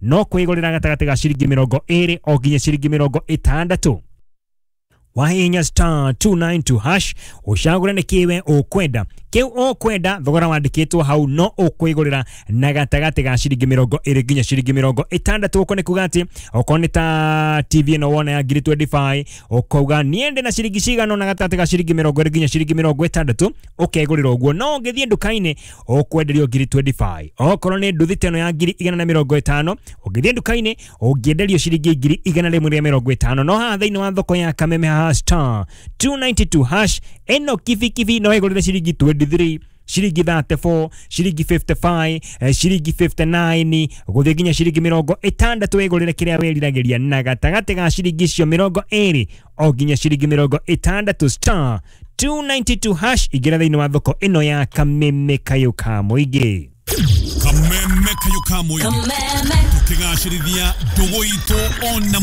No kwĩgũrĩra gatagatĩ ga ciringi 20 o nginya ciringi 60. Wahihinya star 292 hash, ũcagũre nĩ kĩwe ũkwenda, kĩu ũkwenda thogora wandĩkĩtwo hau, no ũkwĩgũrĩra na gatagatĩ ga ciringi 20 nginya ciringi 60. Ũko nĩ kuga atĩ okorwo nĩ ta TV ĩno wona ya ngiri 25, ũkauga niende na ciringi cigana na gatagatĩ ga ciringi 20 nginya ciringi 60, ũkegũrĩra ũguo. No ũngĩthiĩ nduka-inĩ ũkwenderio ngiri 25. Okorwo nĩ nduthi ta ĩno ya ngiri 150, ũngĩthiĩ nduka-inĩ ũngĩenderio ciringi ngiri 150. No haha thĩinĩ wa thoko ya Kameme haha star 292 hash, ĩno kibikibi no ĩgũrĩre ciringi 23, ciringi 34, ciringi 55, ciringi 59, gũthiĩ nginya ciringi 60, wĩgũrĩre kĩrĩa wĩriragĩria na gatagatĩ ga ciringi icio 20 o nginya ciringi 60. Star 292 hash, ingĩra thĩinĩ wa thoko ĩno ya Kameme kayũ ka mũingĩ. Kameme kayũ ka mũingĩ, tũkĩgacĩrithia ndũgũ itũ ona.